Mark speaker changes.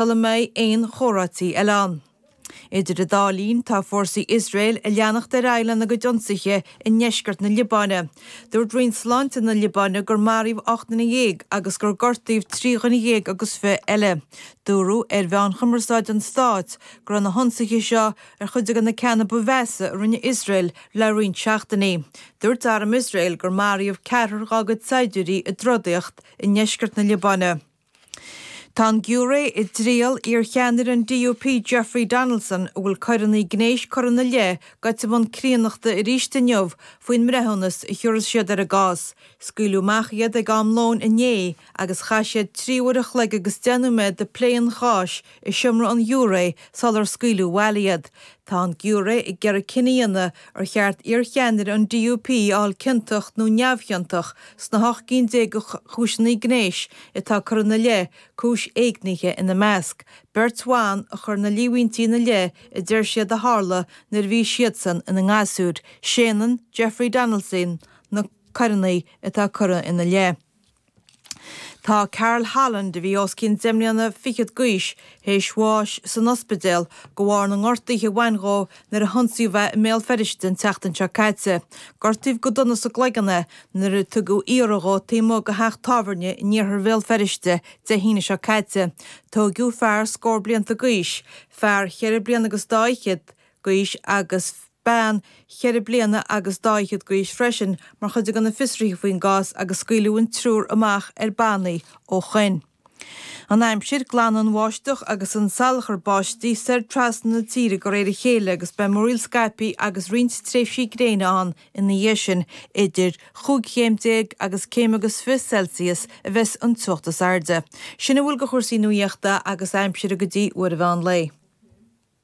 Speaker 1: Sula mbeidh aon chomhráití eile ann. Idir an dá linn, tá fórsaí Iosrael ag leanacht ar aghaidh lena gcuid ionsaithe i ndeisceart na Liobáine. Dúirt Roinn Sláinte na Liobáine gur maraíodh 18 nduine agus gur gortaíodh 23 dhuine agus 20 eile. Dúradh ar mheáin chumarsáide an stáit go raibh na hionsaithe seo ar chuid de na ceanna ba mheasa a rinne Iosrael le roinnt seachtainí. Dúirt arm Iosrael gur maraíodh ceathrar dá gcuid saighdiúirí i dtrodaíocht i ndeisceart na Liobáine. Tá an giúiré i dtriail iarcheannaire an DUP Jeffrey Donaldson, a bhfuil coireanna gnéis curtha ina leith, gaibhte i mbun críonnachta arís inniu faoin mbreithiúnas a thiúrfas siad ar an gcás. Scaoileadh amach iad ag am lóin inné agus chaith siad 3 uair a chloig agus 10 nóiméad ag plé an cháis i seomra an ghiúiré sular scaoileadh abhaile iad. Tá an giúiré ag iarraidh cinneadh a dhéanamh ar cheart iarcheannaire an DUP a fháil ciontach nó neamhchiontach sna hocht gcinn déag de chúiseanna gnéis atá curtha ina leith, cúis éignithe ina measc. Beirt bhan a chuir na líomhaintí ina leith a deir siad a tharla nuair a bhí siadsan ina ngasúir. Séanann Jeffrey Donaldson na coireanna atá curtha ina leith. Tá Carl Holland, a bhí os cionn deich mbliana fichead d'aois, théis bháis san ospidéal de bharr na ngortuithe a bhain dhó nuair a hionsaíodh é i mBéal Feirste an tseachtain seo caite. Gortaíodh go dona sa gcloigeann é nuair a tugadh iarraidh dhó taobh amuigh de theach tábhairne in iarthar Bhéal Feirste Dé hAoine seo caite. Tóigeadh fear scór blianta d'aois, fear cheithre bliana agus dá fhichead d'aois agus bean cheithre bliana agus dá fhichead d'aois freisin mar chuid de na fiosruithe faoin gcás agus scaoileadh an triúr amach ar bannaí ó shoin. An aimsir, Glanfaidh an bháisteach agus an salachar báistí soir trasna na tíre de réir a chéile agus beidh múraíl scaipthe agus roinnt tréimhsí gréine ann ina dhiaidh sin. Idir chúig chéim déag agus céim agus 20 Celsius a bheas an teocht is airde. Sin a bhfuil de chúrsaí nuaíochta agus aimsire go dtí uair an mheán lae.